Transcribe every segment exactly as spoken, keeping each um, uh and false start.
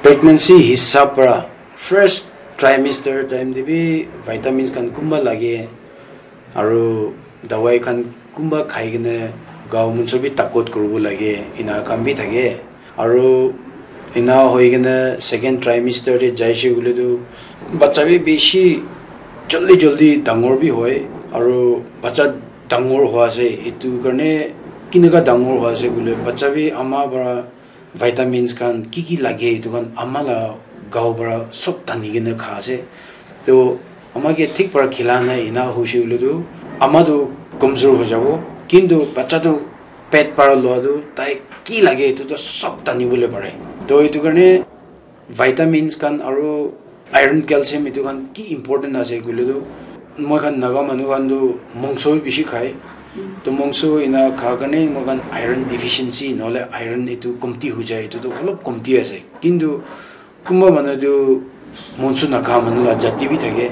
Pregnancy hisab para first trimester time te bi vitamins khan kumba lage, aru dawai khan kumba khai kena gao munso bi takot kuribo lage, ena khan bi thake. Aru ena hoi kena second trimester te jaise koile tu bacha bi bishi jaldi jaldi dangor bi hoi, aru bacha dangor hua ase, etu karne kineka dangor hua ase koile bacha bi ama para vitamins khan ki ki lage etu khan ama la gao para sob tani kena kha ase. To ama ke thik para khila nai ena hoise koile tu ama tu komzor hoi jabo, kintu bacha tu pet para lua tu tai ki lage etu tu sob tani bole pare. To etu karne vitamins khan aru iron, calcium etu khan ki important ase koile tu moi khan Naga manu khan tu mongso bi bishi khai. To mongso ena kha karne moi khan iron deficiency nohole iron etu komti hoi jai, etu tu olop komti ase. Kintu kunba manu tu mongso nakha manu la jati bi thake.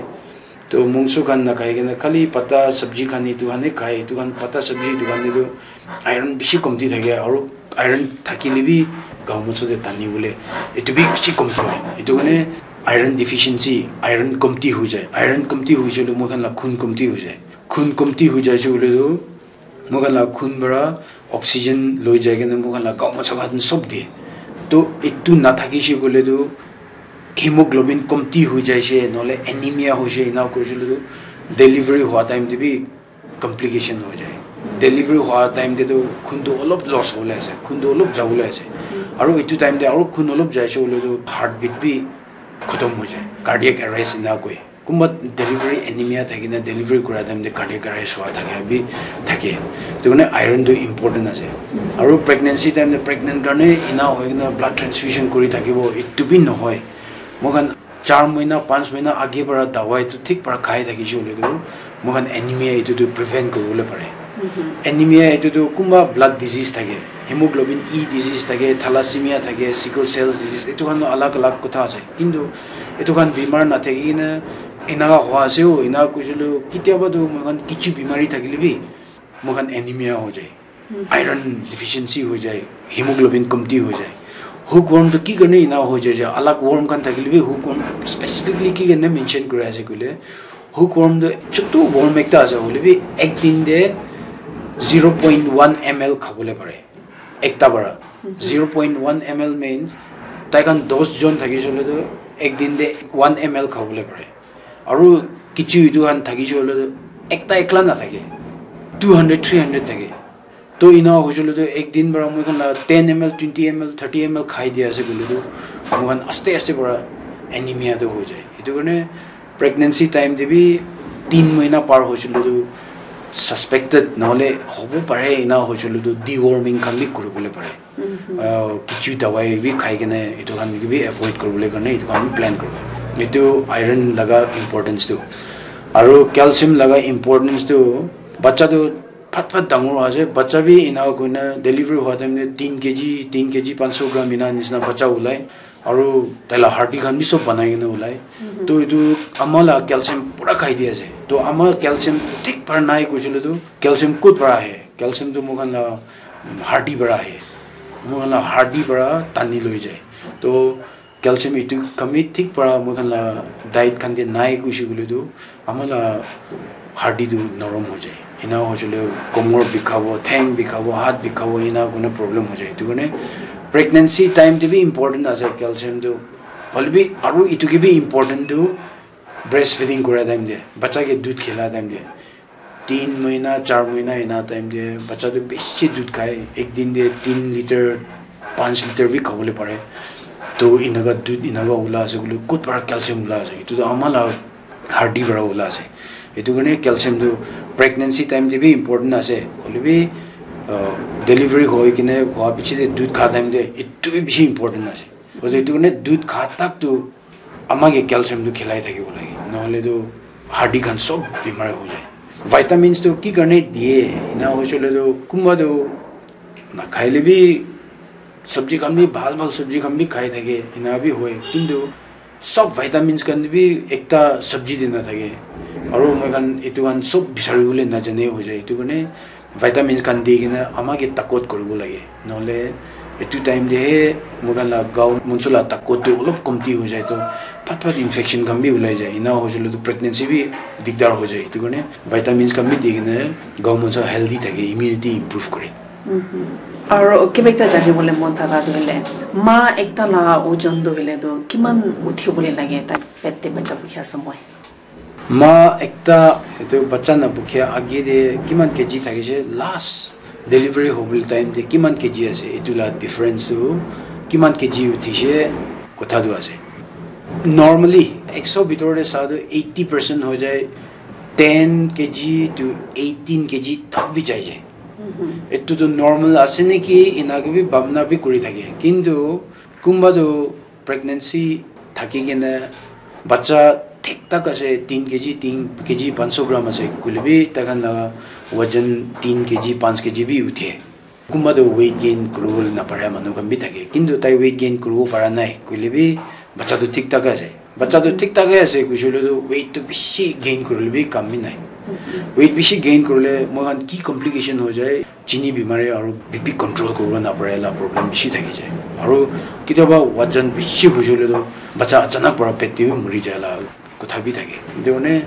To mongso khan nakhai kena khali pata sabji khan etu khan he khai, etu khan pata sabji etu khan te tu iron bishi komti thake, aru iron thakile bi gao munso te tani bole etu bi bishi komti hoi. Etu karne iron deficiency, iron komti hoi jai. Iron komti hoi jai le moi khan la khun komti hoi jai. Khun komti hoi jai se koile tu moi khan la khun para oxygen loi jai kena moi khan la gao munso khan sob de. To etu nathakise koile tu hemoglobin komti hoi jaise, nohole anemia hoise, ena kurise koile tu delivery hua time te bi complication hoi jai. Delivery hua time te tu khun tu olop loss hobole ase, khun tu olop jabole ase. Aru etu time te aru khun olop jaise koile tu heartbeat bi khotom hoi jai, cardiac arrest ena koi. Kunba delivery anemia thakina delivery kura time te cardiac arrest hua thaka bi thake. Etu karne iron tu important ase. Aru pregnancy time te pregnant karne ena hoi kena blood transfusion kuri thakibo, etu bi nohoi. Moi khan char mahina, panch mahina age para dawai tu thik para khai thakise koile tu moi khan anemia etu tu prevent kuribole pare. Anemia etu tu kunba blood disease thake, hemoglobin E disease thake, thalassemia thake, sickle cell disease, etu khan tu alag alag kotha ase. Kintu etu khan bimar nathaki kena enaka hua ase o, ena kuisile kitiaba tu moi khan kichu bimari thakile bi moi khan anemia hoi jai, iron deficiency hoi jai, hemoglobin komti hoi jai. Hookworm tu ki karne ena hoi jai je, alag worm khan thakile bi hookworm specifically ki karne mention kuri ase koile, hookworm tu chutu worm ekta ase, hoile bi ek din te zero point one M L khabole pare. Ekta para zero point one M L means tai khan dos jon thakise koile tu ek din te one M L khabole pare. Aru kichu etu khan thakise koile tu ekta ekla nathake, two hundred, three hundred thake. To ena hoise koile tu ek din para moi khan la ten M L, twenty M L, thirty M L khai dia ase koile tu moi khan aste aste para anemia tu hoi jai. Etu karne pregnancy time te bi tin mahina par hoise koile tu suspected nohole hobo pare, ena hoise koile tu deworming khan bi kuribole pare. Ah, kichu dawai bi khai kena etu khan ke bi avoid kuribole karne etu khan plan kuribo. Etu iron laga importance tu. Aru calcium laga importance tu, bacha tu phat phat dangor hoi ase, bacha bi ena koina delivery hua time te tin K G, tin K G panch so gram ena nisna bacha ulai. Aru tai la hardi khan bi sob banai kena ulai. To etu ama la calcium pura khai di ase. To ama calcium thik para nai koisile tu calcium kot para ahe? Calcium tu moi khan la hardi para ahe. Moi khan la hardi para tani loi jai. To calcium etu khan bi thik para moi khan la diet khan te nai koise koile tu ama la hardi tu norom hoi jai. Ena hoise koile komor bikhabo, theng bikhabo, hath bikhabo, ena koina problem hoi jai. Etu karne pregnancy time te bi important ase calcium tu. Hoile bi aru etu ke bi important tu breastfeeding kura time te, bacha ke dudh khila time te, tin mahina, char mahina ena time te bacha tu bishi dudh khai, ek din te tin litre, panch litre bi khabole pare. To enaka dudh enaka ula ase koile kot para calcium ula ase? Etu tu ama la hardi para ula ase. Etu karne calcium tu pregnancy time te bi important ase, hoile bi, ah, delivery hoi kena hua piche te dudh kha time te etu bi bishi important ase. Hoile etu karne dudh kha tak tu ama ke calcium tu khilai thakibo lage, nohole tu hardi khan sob bimar hoi jai. Vitamins tu ki karne diye, ena hoise koile tu kunba tu nakhaile bi sabji khan bi bhal bhal sabji khan bi khai thake, ena bi hoi, kintu sob vitamins khan bi ekta sabji te nathake. Aru moi khan etu khan sob bisari bole najane hoi jai. Etu karne vitamins khan di kena ama ke takot kuribo lage, nohole Etu time te he moi khan la gaon monso la takot tu olop komti hoi jai to phat phat infection khan bi ulai jai. Ena hoi jale to pregnancy bi digdar hoi jai. Etu karne vitamins khan bi di kene gaon monso healthy thake, immunity improve kore. Aro kiba ekta jani bole mon thaka tu hele, ma ekta la ojon tu hele tu kiman uthi bole lage ta pet te bacha bukhi ase moi. Ma ekta etu bacha na bukhi age te kiman kg thakise, last delivery hobole time te kiman kg ase, etu la difference tu kiman kg uthise kotha tu ase. Normally ekso bitor te sa tu eighty percent hoi jai, ten kg to eighteen kg tak bi jai jai. Etu tu normal ase niki, ena ke bi bhabna bi kuri thake. Kintu kunba tu pregnancy thaki kena bacha thik thak ase, tin kg, tin kg panch so gram ase koile bi tai khan la wajan tin kg, panch kg bi uthe. Kunba tu weight gain kuribole napara manu khan bi thake, kintu tai weight gain kuribo para nai koile bi bacha tu thik thak ase. Bacha tu thik thak ase, kuishe koile tu weight tu bishi gain kurile bi kam bi nai. Weight bishi gain kurile moi khan ki complication hoi jai, chini bimari aru B P control kuribo napare la problem bishi thaki jai. Aru ketiaba wajan bishi hoishe koile tu bacha achanak para pet te bi muri jai la kotha bi thake. Etu karne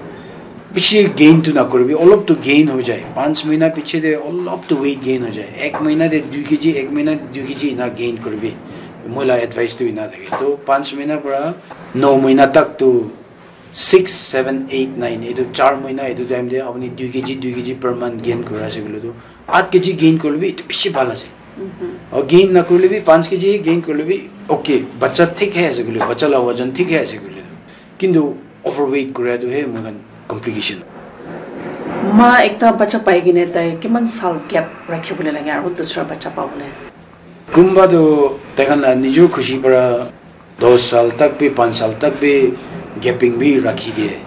bishi gain tu nakuribi, olop tu gain hoi jai. Panch mahina piche te olop tu weight gain hoi jai. Ek mahina te dui kg, ek mahina te dui kg ena gain kuribi. Moi la advice tu ena thake. To panch mahina para no mahina tak tu six, seven, eight, nine, etu char mahina etu time te apuni dui kg, dui kg per month gain kuri ase koile tu, aat kg gain kurile bi etu bishi bhal ase. Aru gain nakurile bi panch kg gain kurile bi okay, bacha thik hai ase koile, bacha la wajan thik hai ase koile tu. Kintu overweight kura tu he moi khan complication. Ma ekta bacha pai kene tai kiman sal gap rakhi bole lage aru dusra bacha pabole? Kunba tu tai khan la nijor khushi para dos sal tak bi, panch sal tak bi gapping bi rakhi diye.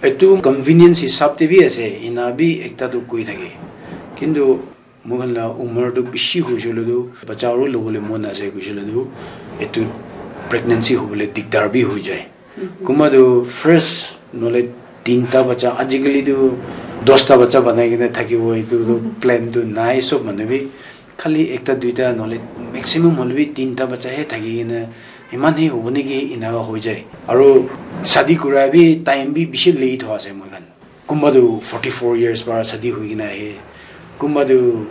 Etu convenience hisab te bi ase, ena bi ekta tu koi thake. Kintu moi khan la umar tu bishi hoishe koile tu bacha aru lobole mon ase koishe koile tu etu pregnancy hobole digdar bi hoi jai. Kunba tu first nole tinta bacha, ajikali tu dosta bacha banai kena thakibo, etu tu plan tu nai sob manu bi. Khali ekta duita nohole maximum hoile bi tinta bacha he thaki kena eman he hobo niki ena hoi jai. Aru shadi kura bi time bi bishi late hoi ase moi khan. Kunba tu forty four years para shadi hoi kena ahe, kunba tu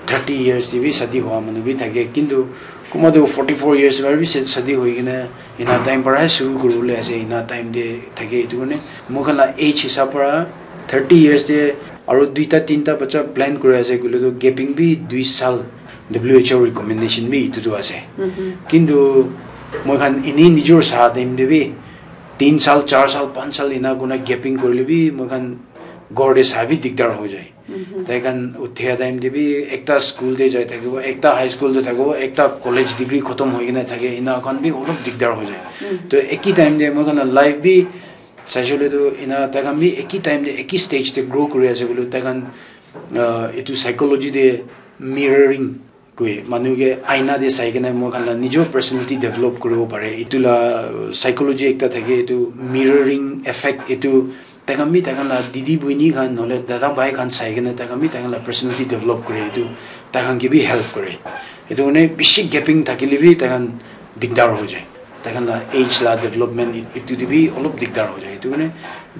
thirty years te bi shadi hoa manu bi thake, kintu kunba tu forty four years para bi shadi hoi kena ena time para he shuru kuribole ase, ena time te thake. Etu karne moi khan la age hisab para thirty years te aru duita tinta bacha plan kuri ase koile tu gapping bi dui sal W H O recommendation bi etu tu ase. Kintu moi khan eni nijor sa time te bi tin sal, char sal, panch sal ena kurina gapping kurile bi moi khan ghor te sa bi digdar hoi jai. Tai khan uthia time te bi ekta school te jai thakibo, ekta high school te thakibo, ekta college degree khotom hoi kena thake, ena khan bi olop digdar hoi jai. To eki time te moi khan la life bi saishe koile tu ena tai khan bi eki time te eki stage te grow kuri ase koile tai khan, ah, etu psychology te mirroring koi, manu ke aina te sai kena moi khan la nijor personality develop kuribo pare. Etu la psychology ekta thake, etu mirroring effect, etu tai khan bi tai khan la didi buini khan nohole dada bhai khan sai kena tai khan bi tai khan la personality develop kore, etu tai khan ke bi help kore. Etu karne bishi gapping thakile bi tai khan digdar hoi jai. Tai khan la age la development etu te bi olop digdar hoi jai. Etu karne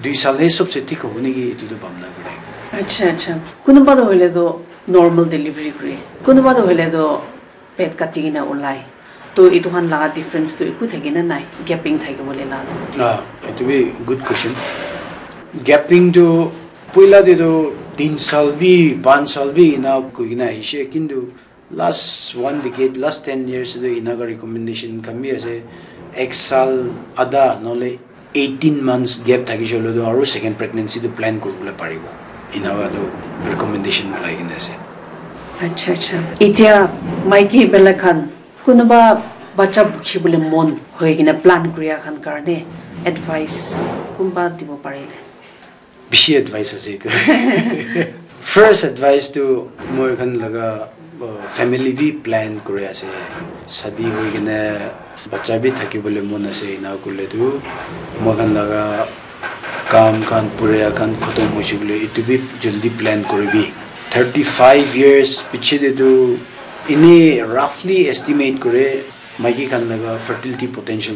dui sal he sobse thik hobo niki, etu tu bhabna kore. Acha, acha. Kunuba toh hoile toh normal delivery kure. Kunuba toh hoile toh pet kati kena ulai. To etu khan laga difference tu eku thaki na nai, gapping thaki bole la toh. Ah, etu bi good question. Gapping tu poila te tu tin sal bi, panch sal bi ena koi kena ahishe, kintu last one decade, last ten years te ena ka recommendation khan bi ase, ek sal adha nohole eighteen months gap thakishe hoile tu aru second pregnancy tu plan kuribole paribo. Ena ka tu recommendation ulai kena ase. Acha, acha. Etia maiki bela khan kunuba bacha bukhi bole mon hoi kena plan kuria khan karne advice kunba dibo parile? Bishi advice ase etu. First advice tu moi khan laga, uh, family bi plan kuri ase. Shadi hoi kena bacha bi thaki bole mon ase, ena kurle tu moi khan laga kam khan puria khan khotom hoishe koile etu bi jaldi plan kuribi. Thirty five years piche te tu Ene roughly estimate kore maiki khan laga fertility potential